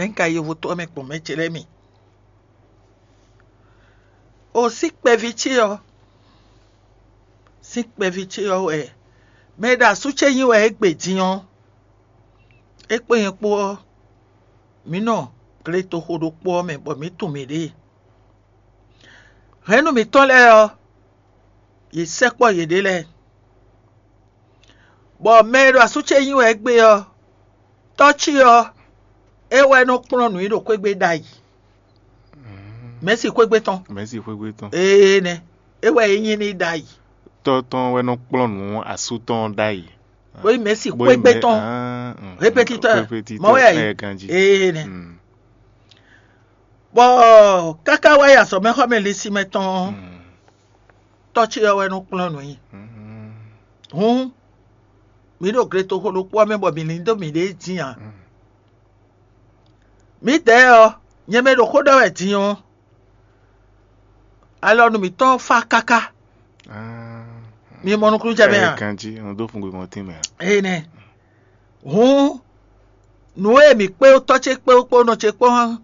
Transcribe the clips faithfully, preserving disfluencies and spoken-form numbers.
Nɛ̌ un ka yovo tɔn mɛ gbɔn mɛ ce lɛ́ɛ mi? O sín kpɛví ce ɔ́, sín kpɛví ce ɔ́ wɛ mɛ e ɖo asú ce nyi wɛ égbé din ɔ́, é kpó nyɛ kpó ɔ́, mǐ nɔ gletoxo ɖokpó ɔ́ mɛ bɔ mǐ tunwun mǐɖée. Hɛ̌nnu mǐtɔn lɛ́ɛ ɔ́, yě sɛkpɔ́ yěɖée lɛ́ɛ, bɔ mɛ e ɖo asú ce nyi wɛ égbé ɔ́, tɔ́ ce ɔ́, é wɛ nɔ kplɔ́n nǔ nyi ɖo xwégbé ɖ'ayǐ, mɛ̌si xwégbé tɔn. Mɛ̌si xwégbé tɔn. Ee nɛ́, é wɛ é nyí n'i ɖ'ayǐ. Tɔ́ tɔn wɛ nɔ kplɔ́n nǔ asú tɔn ɖ'ayǐ. Bó nyí mɛ̌si xwégbé tɔn. Répétitɔ́, mɔ̌ wɛ ɛ ganjí. Ee nɛ́. Bɔ káká wá yi azɔ̌mɛxɔmɛ linsin mɛ tɔn ɔ́, tɔ́ ce ɔ́ wɛ nɔ kplɔ́n nǔ nyi. Hǔn, mǐ ɖo gletoxo ɖokpó ɔ́ mɛ bɔ mǐ lín dó mǐɖée dín ǎ. Mǐdɛɛ ɔ́, nyɛ mɛ ɖo xó ɖɔ wɛ din ɔ́, alɔ nú mǐtɔn fá káká. Mi mɔ nukúnnú jɛ mɛ a? Ganjí, un dó fun gbé mɔtín mɛ. Énɛ́. Hǔn, nǔ e mǐ kpé tɔ́ ce kpé kpó nɔ ce kpó hán,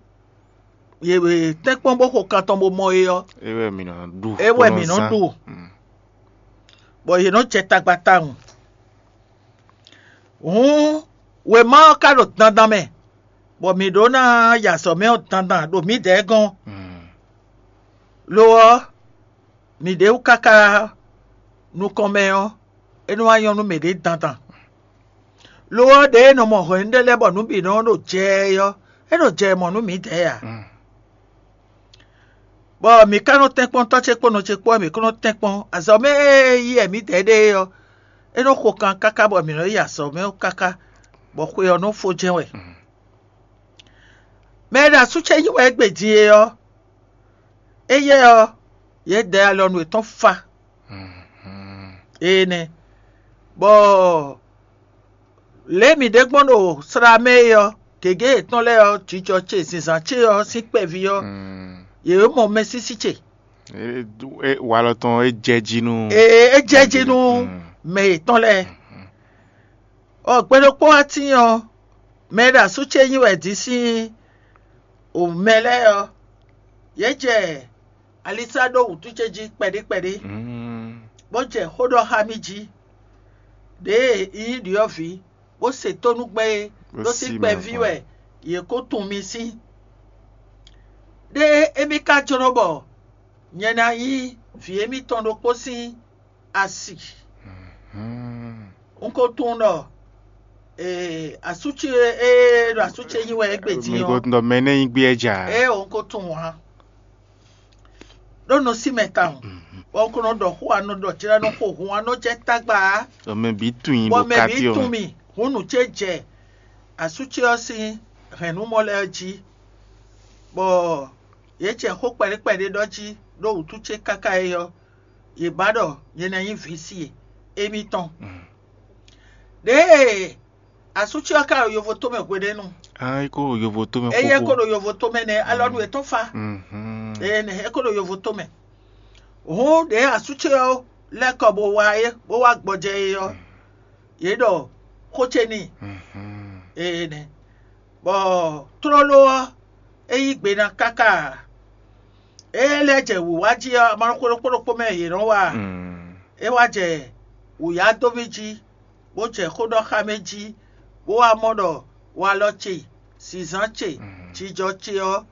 yě tɛ́nkpɔ́n bó xo kan tɔn bó mɔ é ɔ́, é wɛ mǐ nɔ ɖu. É wɛ mǐ nɔ ɖu. Bɔ yě nɔ jɛ tagba tawun. Hǔn, wěma ɔ́ ka ɖo dandan mɛ, bɔ mǐ ɖó ná yi azɔ̌ mɛ ɔ́ dandan ɖo mǐdɛɛ gɔ́n. Lo ɔ́, mǐɖée wú káká nukɔn mɛ ɔ́, é nɔ wá nyɔ́ nú mǐɖée dandan. Lo ɔ́, ɖěe è nɔ mɔ hwɛ̌nu ɖé lɛ́ɛ bɔ nǔ bǐ nɔ ɖo jɛ ɛ ɔ́, é ɖo jɛ mɔ nú mǐdɛɛ ǎ. Bɔ mǐ ka nɔ tɛ́nkpɔ́n tɔ́ ce kpó nɔ ce kpó wɛ mǐ kó nɔ tɛ́nkpɔ́n. Azɔ̌ mɛ e yí wɛ mǐdɛɛ ɖe é ɔ́, é nɔ xo kan káká bɔ mǐ nɔ yi azɔ̌ mɛ ɔ́ káká, bɔ xwe ɔ́ nɔ fó jɛ́n wɛ. Mɛ e ɖo asú ce yí wɛ égbé din é ɔ́, éyɛ́ ɔ́, yě dɛ alɔ nú yětɔn fa. Énɛ́, bɔ lě e mǐ ɖe gbɔn ɖo slá mɛ é ɔ́, gěgé yětɔn lɛ́ɛ ɔ́, jijɔ ce, zinzǎn ce ɔ́ sín kpɛví ɔ́, yě mɔ mɛsísí ce. Walɔ tɔn é jɛ jí nú. Ee, é jɛ jí nú mɛ yětɔn lɛ́ɛ. Ɔ gbe ɖokpó wá tíin ɔ́, mɛ e ɖo asú ce nyi wɛ din sín mɛ lɛ́ɛ ɔ́, yě jɛ alisá ɖó wǔtú ce jí kpɛɖé kpɛɖé, bó jɛ xó ɖɔ xá mì jí, ɖěe un nyí ɖyɔ̌vǐ, bó se tónú gbɛn é, ɖó sí kpɛví wɛ yě ko tunwun mì sín. Ɖé émí ka jló bɔ nyɛ ná nyí vǐ émítɔn ɖokpó sín asi. Un ko tunwun ɖɔ asú ce e ɖo asú ce nyi wɛ égbé din ɔ́. Mi ko tunwun ɖɔ mɛ énɛ́ nyí gbé ɛ jà. Ée un ko tunwun ǎ. Ɖó nɔ sí mɛ tawun, bɔ un ko nɔ ɖɔ xó anɔ ɖɔ jlá nɔ xo hun anɔ jɛ tagba ǎ. Mɛ bǐ tunwun i bɔ ɖo mɛ bǐ káfíɔ tunwun mɛ. Mì, hun nǔ ce jɛ asú ce ɔ́ sín hɛ̌nnumɔ lɛ́ɛ jí, bɔ yě jɛ xó kpɛɖé kpɛɖé ɖɔ jí ɖó wǔtu ce káká é ɔ́, yě ba ɖɔ nyɛ ná nyí vǐ si e émítɔn. Ɖěe asú ce ɔ́ ka ɖo yovo tomɛ hweɖénu. Ah, é ko ɖo yovo tomɛ. Éyɛ́ ko ɖo yovo tomɛ nɛ́, alɔnu yětɔn fa. Ee nɛ é ko ɖo yovo tomɛ. Hǔn ɖě asú ce ɔ́ lɛ́ kɔ bó wá é bó wá gbɔjɛ é ɔ́, yě ɖɔ xó ce n'i. Ee nɛ, bɔ tlóló ɔ́, é yí gbe ná káká ǎ. É lɛ́ jɛ wǐwá jí ɔ́, amɔ̌ xó ɖokpó ɖokpó mɛ yě nɔ wa. É wá jɛ wǔyá dó mì jí, bó jɛ xó ɖɔ xá mì jí, bó wá mɔ ɖɔ walɔ ce, zǐnzán ce, jijɔ ce ɔ́,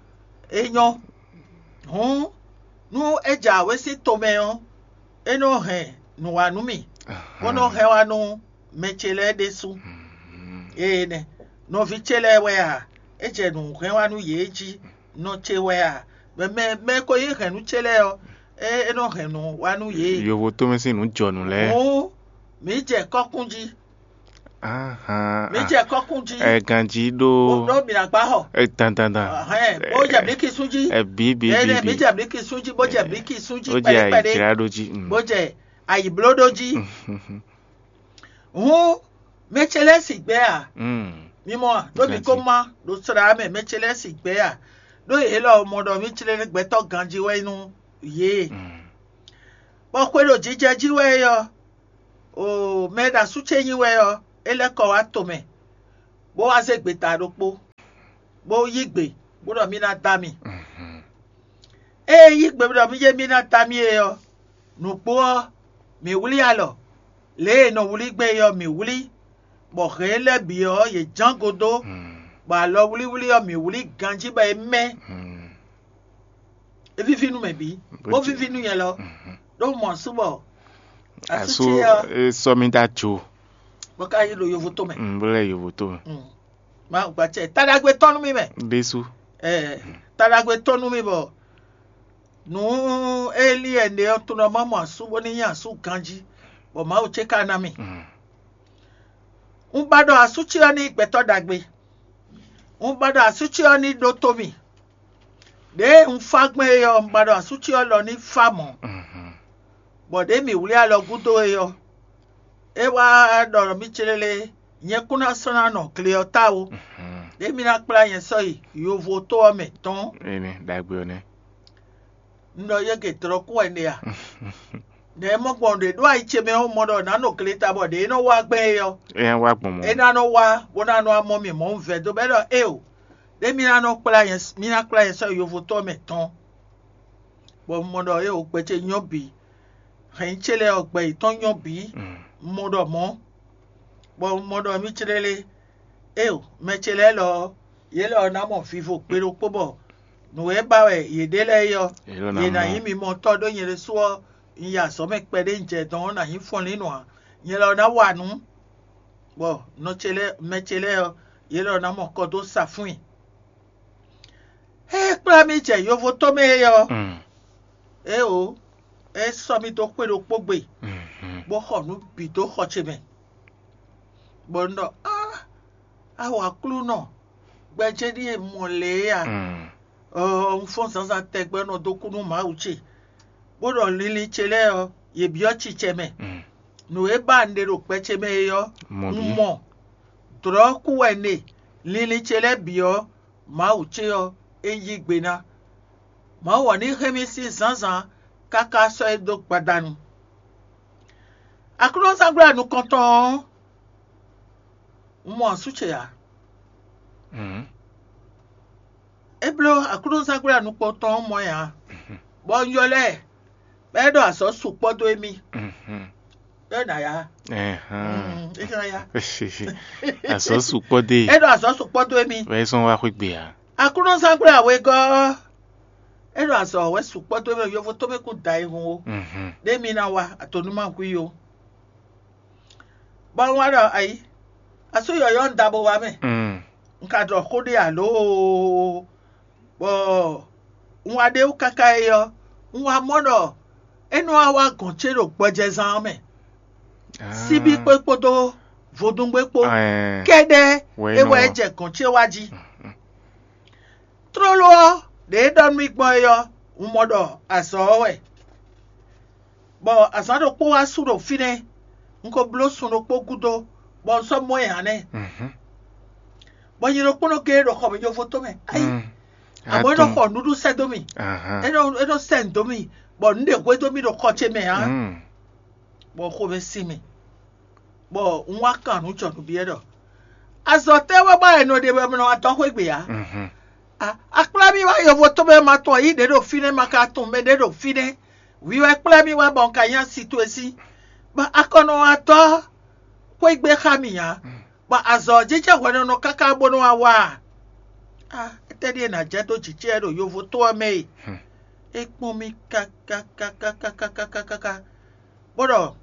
é nyɔ́. Hǔn, nú é jɛ awě sín tomɛ ɔ́, é nɔ hɛn nǔ wá nú mì, bó nɔ hɛn wá nú mɛ ce lɛ́ɛ ɖésú. Ee nɛ, nɔví ce lɛ́ɛ wɛ a? É jɛ nǔ hɛn wá nú yě jí, nɔ ce wɛ a? Mɛ mɛ mɛ e ko nyí hɛ̌nnu ce lɛ́ɛ ɔ́, é é nɔ hɛn nǔ wá nú yě. Yovo tomɛ sín nǔ jɔnǔ lɛ́ɛ. Hǔn, mǐ jɛ kɔ́kún jí. Ahan. Mǐ jɛ kɔ́kún jí. Ɛ ganjí ɖó. Ɖó mǐ ná gbá xɔ. Ɛ dandandan. Hɛn, bó jɛ mǐ kisún jí. Ɛ bí bí bí. Ɛ bí. Mǐ jɛ mǐ kisún jí, bó jɛ mǐ kisún jí. Ó jɛ kpɛɖé kpɛɖé. Ayǐjlá ɖó jí. Bó jɛ ayǐbló ɖó jí. Hǔn, mɛ ce lɛ́ɛ sigbɛ́ a? Mi mɔ a? Ɖó mi ko má ɖo slá mɛ, mɛ ce lɛ́ɛ sigbɛ́ a? Ɖó yě lɔ mɔ ɖɔ mí jlɛ́ gbɛtɔ́ ganjí wɛ nú yě. Bɔ xwe ɖo jijɛ jí wɛ é ɔ́, o mɛ e ɖo asú ce nyi wɛ ɔ́, é lɛ́ kɔ wá tomɛ, bó wá zé gbeta ɖokpó. bó yí gbe bó ɖɔ mì ná da mi. Ée yí gbe bó ɖɔ mì jɛ mì ná da mi é ɔ́, nǔgbó ɔ́, mǐ wlí alɔ lě e è nɔ wlí gbɛn é ɔ́, mǐ wlí, bɔ hɛ̌n lɛ́ɛ bǐ ɔ́, yě ján go dó, bɔ alɔwlíwlí ɔ́, mǐ wlí ganjí bɔ é mɛ́. É víví nú mɛ bǐ, bó víví nú nyɛ lɔ. Ɖó mɔ asú bɔ asú ce ɔ́, é sɔ́ mì dó ajo. Bó ka yi ɖo yovo tó mɛ. Mm, bó lɛ́ yovo tó mɛ. Mm. Má gba cɛ taɖagbe tɔn nú mì mɛ. Ɖésú. Ɛ taɖagbe tɔn nú mì bɔ nǔ élí ɛnɛ ɔ́ tunɔ má mɔ asú bó ní nyí asú ganjí, bɔ Mawu ce ka ná mì. Mm. Un ba ɖɔ asú ce ɔ́ ní gbɛtɔ́ ɖagbe. Un ba ɖɔ asú ce ɔ́ ní ɖótó mì. Ɖěe un fá gbɛn é ɔ́, un ba ɖɔ asú ce ɔ́ lɔ ní fá mɔ̌. Mhm. Bɔ ɖě mǐ wlí alɔ gúdo é ɔ́, é wá ɖɔ nú mì célélé, nyɛ kún ná sɔ́ ná nɔ gle ɔ́ ta ó. Mhm. Ɖě mi ná kplá nyɛ sɔ́ yi yovo tó ɔ́ mɛ tɔn. Énɛ́ ɖagbe ɔ́ nɛ́. Un ɖɔ yɛ́gɛ dlɔ̌ kú wɛ un ɖe a? Nɛ̌ mɔ gbɔn ɖě ɖó ayi ce mɛ ɔ́, mɔ ɖɔ nǎ nɔ gle ta bɔ ɖě é nɔ wá gbɛn é ɔ́, É wá gbɔn mɔ̌. É ná nɔ wá bó ná nɔ wá mɔ mì mɔ̌ un vɛdó bɔ é ɖɔ éeǒ, ɖé mì ná nɔ kplá nyɛ mì ná kplá nyɛ sɔ́ yi yovotɔ́ mɛ tɔn. Bɔ un mɔ ɖɔ éeǒ, gbɛ ce nyɔ́ bǐ, hɛ̌nnyí ce lɛ́ɛ ɔ́, gbɛ yětɔn nyɔ́ bǐ, Mm. un mɔ ɖɔ mɔ̌, bɔ un mɔ ɖɔ mì clélé, éeǒ, mɛ ce lɛ́ɛ lɔ ɔ́, yě lɔ ɔ́ ná mɔ vivo gbe ɖokpó bɔ nǔ e ba wɛ yě ɖe lɛ́ɛ é ɔ́, Yě lɔ ná yě ná mɔ. Nyí mi mɔ tɔ́ ɖó nyɛ ɖésú ɔ́, un yi azɔ̌ mɛ kpɛɖé un jɛ dɔn ɔ́, nǎ nyí fɔnlínnɔ ǎ. Nyɛ lɔ ná wa nǔ, bɔ nɔ ce lɛ́ɛ, mɛ ce lɛ́ɛ ɔ́, yě lɔ ná mɔ kɔ dó sa fún i. Ée é kplá mì jɛ yovotɔ́ mɛ é ɔ́, Mm. éeǒ, é sɔ́ mì dó xwé ɖokpó gbe, Mhm. bó xɔ nǔ bǐ dó xɔ ce mɛ. Bɔ un ɖɔ: "Á, á wɔ Aklúnɔ, gbɛjɛ́ ɖíe un mɔ lě é a?" Mm. Ɔɔ, un fɔ́n zǎnzǎn tɛgbɛ nɔ dó kú nú Mawu ce, bó ɖɔ linlin ce lɛ́ɛ ɔ́, yě byɔ́ cicɛ mɛ. Mm. Nǔ e ba un ɖe ɖo gbɛ ce mɛ é ɔ́, Mɔ un bǐ. Mɔ. Dlɔ̌ kú wɛ un ɖe, linlin ce lɛ́ɛ bǐ ɔ́, Mawu ce ɔ́, é yí gbe ná. Mawu ɔ́ ní hɛn mì sín zǎnzǎn káká sɔ́ é dó gbadanu. Aklúnɔzángbla nukɔntɔn ɔ́, un mɔ asú ce ǎ. Mhm. É bló aklúnɔzángbla nukɔntɔn ɔ́ mɔ ɛ ǎ, bɔ un ylɔ́ ɛ, bɔ é ɖo azɔ̌ sukpɔ́ dó émí. Mhm. É nǎ yá. Ɛhɛn. Mm, é ná yá. Azɔ̌ sukpɔ́ dó É e. Ɖo azɔ̌ sukpɔ́ dó émí. Vɛ é sɔ́ wá xwé gbe ǎ. Aklúnɔzángbla wegɔ́ ɔ́, é ɖo azɔ̌ wɛ sukpɔ́ dó émí, yovo tó mɛ kún da ayihun ó. Mhm. Ɖé mi ná wa atonúmahu i ó. Bɔ un wá ɖɔ ayǐ, asú yɔ̌yɔ́ un da bo wá mɛ. Mm. Un ka ɖɔ xó ɖé alǒ, bɔ un wá ɖe wú káká é ɔ́, un wá mɔ ɖɔ é nɔ wá wá gɔ̌n ce ɖo gbɔjɛzán ɔ́ mɛ. Ah. Síbí kpé kpódó vodúngbé kpó Ɛɛ, kɛ́ɖɛ́ wɛ é é nɔ wɛ é wá. Jɛ gɔ̌n ce wá jí. Tlóló ɔ́, ɖě é ɖɔ nú mì gbɔn é ɔ́, un mɔ ɖɔ azɔ̌ ɔ́ wɛ. Bɔ azǎn ɖokpó wá su ɖo fínɛ́, un ko bló sun ɖokpó gúdo, bɔ un sɔ́ mɔ ɛ ǎ nɛ́. Mhm. Bɔ nyɛ ɖokpónɔ géé ɖo xɔ mɛ yovo tó mɛ. Ayi, Mm. abɔ é nɔ Atún. Xɔ nǔɖuɖu sɛ́ dó mì. Ahan. É nɔ é nɔ sɛ́ nǔ dó mì, bɔ nǔ ɖe hwedó mì ɖo xɔ ce mɛ ǎ. Mm. Bɔ xomɛ sin mì, bɔ un wá kan nǔ jɔ nǔ byɔ́ ɖɔ: "Azɔ̌ tɛ́ wɛ ba è nɔ ɖe bɔ è nɔ wá dɔn xwé gbe ǎ?" Mhm. A- Akplá mì wá yovo tó mɛ ma tɔn yí ɖě ɖo fínɛ́, ma ka tunwun mɛ ɖě ɖo fínɛ́. Hwi wɛ kplá mì wá bɔ un ka nyí asi towe sí. Bɔ a kɔ nɔ wá dɔn xwé gbe xá mì ǎ. Bɔ azɔ̌ ɔ́ jínjɔ́n hwɛɖɔnɔ káká bó nɔ́ wá wá a? A étɛ́ ɖíe nǎ jɛ dó jǐ ce wɛ ɖo yovo tó ɔ́ mɛ e? Hmm. É kpɔ́n mì káká, bó ɖɔ: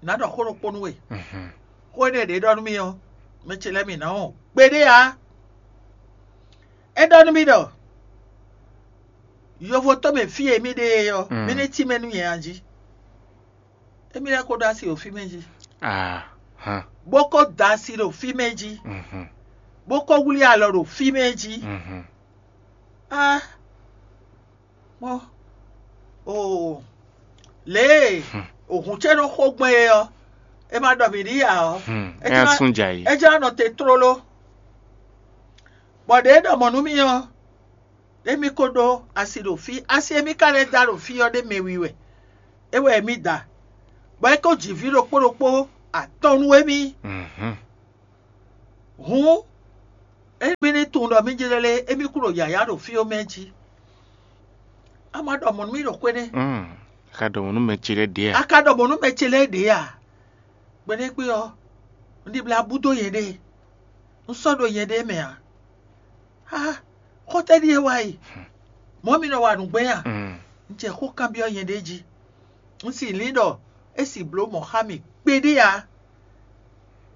"Nǎ ɖɔ xó ɖokpó nú we. Mhm. Xó énɛ́ ɖě ɖɔ nú mì ɔ́, mɛ ce lɛ́ɛ mì nǎ wɔn gbeɖé ǎ." É ɖɔ nú mì ɖɔ: "Yovo tó mɛ fí e mì ɖe é ɔ́, Mm. mì ní tínmɛ nú nyɛ a jí?" Émí lɛ́ɛ ko ɖó asi ɖo fí mɛ jí, Ahan. Bó ko da asi ɖo fí mɛ jí, Mhm. Bó ko wlí alɔ ɖo fí mɛ jí. Mhm. Ah, mɔ, oo, lě e Hmm. Òhun ce nɔ xo gbɔn é ɔ́, é ma ɖɔ mǐ ɖi ǎ ɔ́, Hmm. É É ná ná sún jɛ ayǐ. É jlá nɔ te tlóló. Bɔ ɖě e ɖɔ mɔ̌ nú mì ɔ́, émí ko ɖó asi ɖo fí. Asi e mì ka lɛ́ da ɖo fí ɔ́ ɖé mɛ wiwi wɛ. É wɛ émí da, bɔ é ko ji vǐ ɖokpó ɖokpó atɔn nú émí. Mhm. Hǔn, Émí ní tunwun ɖɔ mí jlɛ́ lé, émí kú ɖo yǎyá ɖo fí ɔ́ mɛ jí. A ma ɖɔ mɔ̌ nú mì ɖo xwé nɛ́. Mm. A ka ɖɔ mɔ̌ nú mɛ ce lɛ́ɛ ɖě a? A ka ɖɔ mɔ̌ nú mɛ ce lɛ́ɛ ɖě a? Gbeɖégbé ɔ́, un ɖibla bú dó nyɛɖée. Un sɔ́ ɖo nyɛɖée mɛ ǎ. Á, xɔ́tɛ́ ɖíe wá yi. Mɔ̌ mi nɔ wa nǔgbɛ́ a? Mm. Un jɛ xó kanbyɔ́ nyɛɖée jí. Un si lin ɖɔ é si bló mɔ̌ xá mì kpeɖé ǎ.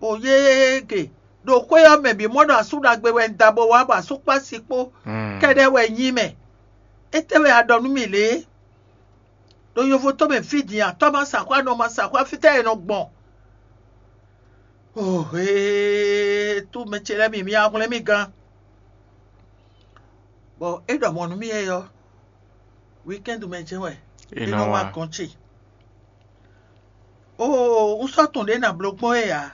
O yége, ɖo xwé ɔ́ mɛ bǐ mɔ ɖɔ asú ɖagbe wɛ un da bó wá bɔ asú kpó asi kpó Mm. kɛ́ɖɛ́ wɛ nyí mɛ. Étɛ́ wɛ a ɖɔ nú mì lě? Ɖo yovo tɔn mɛ fí din a, tɔ́ ma sa xwá, nɔ ma sa xwá, fítɛ́ è nɔ gbɔn? Ohe, tú mɛ ce lɛ́ɛ mi, mi ahwlɛ́n mì gán. Bɔ é ɖɔ mɔ̌ nú mì yɛ ɔ́, wíkɛ́ndu mɛ jɛ́n wɛ É é nɔ nɔ wá wá. gɔ́n ce. Oo, un sɔ́ tunwun ɖě ná bló gbɔn é ǎ.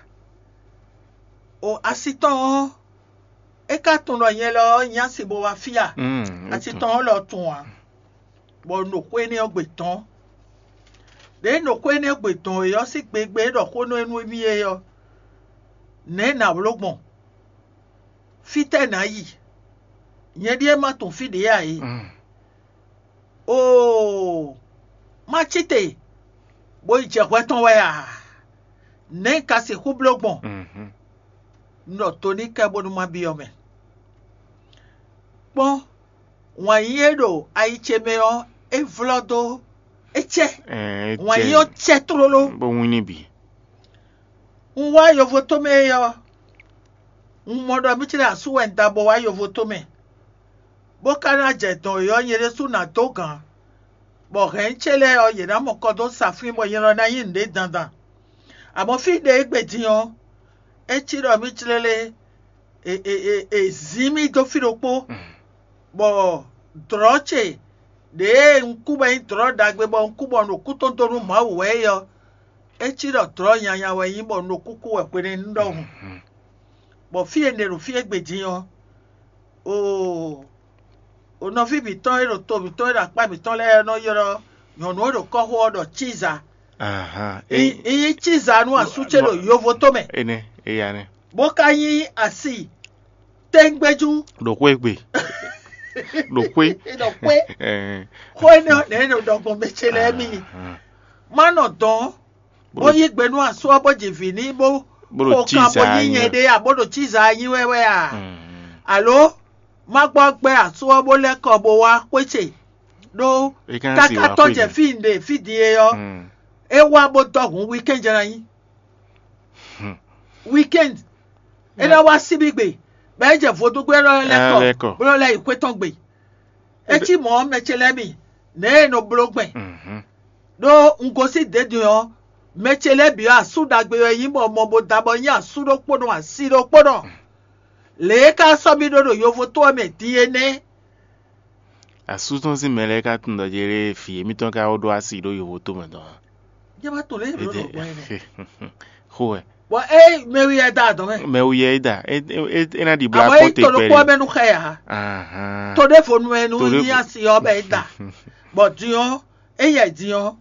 O asi tɔn ɔ́, é ka tunwun ɖɔ nyɛ lɔ ɔ́ nyí asi bó wá fí a? Mm, é Asi tunwun. Tɔn ɔ́ lɔ tunwun a? Bɔ un ɖo xwé énɛ́ ɔ́ gbe dɔn. Ɖěe un ɖo xwé énɛ́ ɔ́ gbe dɔn é ɔ́ sín gbegbe é ɖɔ xó nú énú émí é ɔ́, nɛ̌ nǎ bló gbɔn? Fítɛ́ nǎ yi? Nyɛ ɖíe ma tunwun fí ɖě ǎ é. Mm. Oo, má cí te, bó yi jɛ hwɛ tɔn wɛ a? Nɛ̌ un ka sixú bló gbɔn? Mhm. Un ɖɔ to n'i kɛ bónú má byɔ́ mɛ. Kpɔ́n, wǎn yíyí e ɖo ayi ce mɛ ɔ́, é vlɔ́ dó, é cɛ. Ɛɛ, Wǎn yíyí ɔ́ cɛ tlóló. Bó wín ní bǐ. Un wá yovo tomɛ é ɔ́, un mɔ ɖɔ mì cí ɖo asú wɛ un da bɔ wá yovo tomɛ, bó ka ná jɛ dɔn é ɔ́, nyɛ ɖésú ná dó gǎn, bɔ hɛ̌n ce lɛ́ɛ ɔ́, yě ná mɔ kɔ dó sa fín bɔ nyɛ lɔ ná nyí nǔɖé dandan. Amɔ̌ fí ɖě e gbe din ɔ́, é cí ɖɔ mì jlɛ́ lé, è, è, è, è zǐn mì dó fí ɖokpó, bɔ dlɔ̌ ce ɖěe un kú bɔ nyí dlɔ̌ ɖagbe bɔ un kú bɔ un ɖo kú tɔn dó nú Mawu wɛ é ɔ́, é cí ɖɔ dlɔ̌ nyanya wɛ nyí bɔ un ɖo kúkú wɛ hwenɛ́nu ɖɔhun. Bɔ fí e un ɖe ɖo fí e gbe din ɔ́, oo, o nɔví mǐtɔn e ɖo to mǐtɔn e ɖo akpá mǐtɔn lɛ́ɛ nɔ ylɔ́ nyɔ̌nu e ɖo kɔ́xo ɔ́ ɖɔ Cíza. Ahan. Nyí Cíza nú asú ce ɖo yovo tomɛ, Énɛ́, éya nɛ́. Bó ka nyí asi tɛ́ngbɛ́jú. Ɖo xwé gbe. Ɖo xwé. Ɖo xwé. Ɛɛ. Xó énɛ́ ɔ́ nɛ̌ nɔ ɖɔ gbɔn mɛ ce lɛ́ɛ mì. Má nɔ dɔn, bó yí gbe nú asú ɔ́ bó ji vǐ n'i bó Bó ɖo xo kan bó Cíza nyí nyí. nyɛɖée ǎ, bó ɖo Cíza nyí wɛ wɛ a? Mm. Alo má gbɔ gbɛ asú ɔ́ bó lɛ́ kɔ bó wá xwé ce, ɖó É ka káká tɔ́ jɛ fí un ɖe fí din é ɔ́, é wá bó dɔ́ hǔn wíkɛ́n jɛ ná nyí. Wíkɛ́n é ná wá síbígbe, bɔ é jɛ vodúngbé lɛ́ɛ lɛ́ kɔ, bó lɛ́ yi xwé tɔn gbe. É cí mɔ̌ mɛ ce lɛ́ɛ mi, nɛ̌ e nɔ bló gbɛn. Ɖó un gosín dě din ɔ́, mɛ ce lɛ́ɛ bǐ ɔ́, asú ɖagbe wɛ nyí bɔ mɔ bó da bɔ nyí asú ɖokpónɔ asi ɖokpónɔ. Lě e ka sɔ́ mì ɖó ɖo yovo tó ɔ́ mɛ din é nɛ́. Asú tɔn sín mɛ lɛ́ɛ ka tunwun ɖɔ Jerée vǐ émítɔn ka ko ɖó asi ɖó yovo tó mɛ tɔn ǎ. Jɛ ma tunwun lě e ɖo gbɔn é nɛ́. Xó wɛ. Bɔ é mɛ wi yɛ da adɔn mɛ. Mɛ wi yɛ é da. É é- é ná ɖi bla Àmọ́ kpɔ́n yín te to ɖokpó kpɛɖé. mɛ nú xɛ ǎ. Ahan. To ɖé vo nu ɛ nu To ɖé ní vo- asi ɔ́ bɛ é da. Bɔ din ɔ́, é yɛ din ɔ́,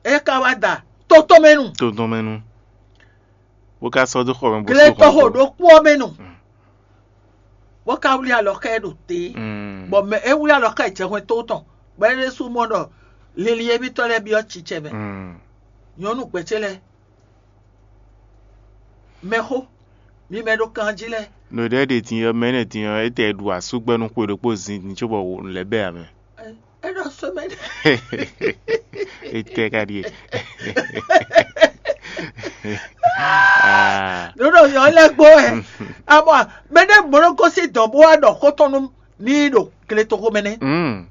é ka wá da tótó mɛ nu. Tó tɔn mɛ nu. Bó ka sɔ́ dó xɔ mɛ bó Glé sɔ́ tɔ́ xɔ xo mɛ. ɖokpó ɔ́ mɛ nu. Bó ka wlí alɔ xɛ ɖo te. Mm. Bɔ mɛ é wlí alɔ xɛ jɛ hwɛn tó tɔn. Bɔ é ɖésú mɔ ɖɔ lili émítɔn lɛ́ɛ byɔ́ cicɛ mɛ. Mm. Nyɔ̌nu gbɛ̌ ce lɛ́ɛ. Mɛxó, mi mɛ ɖo kan jí lɛ́ɛ. Nǔɖé ɖe din ɔ́, mɛ énɛ́ din ɔ́, é tɛ ɖu asúgbɛ́ nú xwe ɖokpó zin din cóbɔ wǒ lɛ́ bɛ ǎ mɛ. É ɖɔ semaine. É tɛ ka ɖíe. Ah. Ɖoɖo yɔ lɛ gbɔ ɛ. Amɔ mɛ ɖe mɔ ɖo gosín dɔn bó wá ɖɔ xó tɔn nú ní ɖo gletoxo mɛ nɛ. Mm.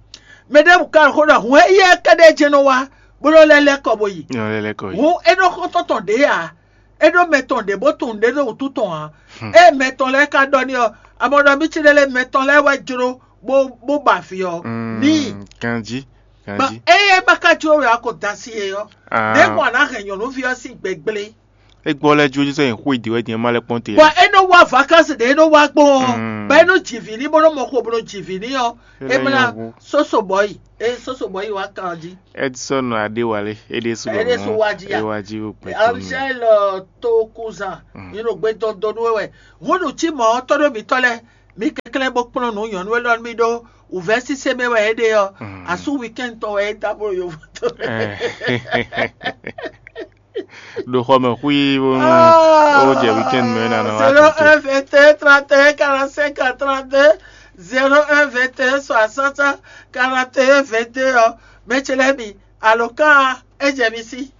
Mɛ ɖe ka ɖo xó ɖɔ hǔn éyɛ́ kɛɖɛ́ jɛ́n nɔ wá bó nɔ lɛ́ lɛ́ kɔ bó yi. Nyɔ lɛ lɛ kɔ yi. Hǔn é ɖo xó tɔn tɔn ɖě ǎ. É ɖó mɛ tɔn ɖě bó tunwun ɖě ɖo wǔtu tɔn ǎ. Ée mɛ tɔn lɛ́ɛ ka ɖɔ n'i ɔ́, amɔ ɖɔ mí ci ɖe lɛ́ɛ mɛ tɔn lɛ́ɛ wɛ jló bó bó ba vǐ ɔ́. Ní Mm, Ganjí. ma Ganjí. eye ma ka jló wɛ a ko da sí e ɔ́. Ah. Ɖě mɔ a nǎ hɛn nyɔ̌nuví ɔ́ sín gbɛgblé. É gbɔ lɛ jó sɛ xó ìdí wɛ din ma lɛ kpɔn te. Bɔ é nɔ wá vacances ɖě é nɔ wá gbɔn ɔ́, Mm. bɔ é nɔ ji vǐ ní bó nɔ mɔ xo bó nɔ ji vǐ ní ɔ́, É é nɔ mla nyɔ́ wu. Soso Bɔyi, é Soso Bɔyi wá kan jí. Edson Adéwálé, é ɖésú lɔ É ɖésú mɔ, wá jí é a. wá jí wò pé. Angel uh, Tokuza, Mm. yín ɖo gbé dɔndɔn nú wɛ. Húnú tí mɔ ɔ́ tɔ́ ɖó mǐtɔn lɛ́ɛ, Ɛ bó kplɔ́n nǔ nyɔ̌nu élɔ́ nú mì ɖó wǔvɛ́ sísé mɛ wɛ é ɖe ɔ́, asú weekend tɔn wɛ é dó abolo yovo tɔn. Ɖo xɔ mɛ xwí bónú ó jɛ weekend mɛ ná nɔ wá zéro tete. Un vingt et un trente et un quarante cinq trente deux. Zéro un vingt et un soixante quarante et un vingt deux ɔ́, mɛ ce lɛ́ɛ mi alɔkán ɛ jɛ mi sí.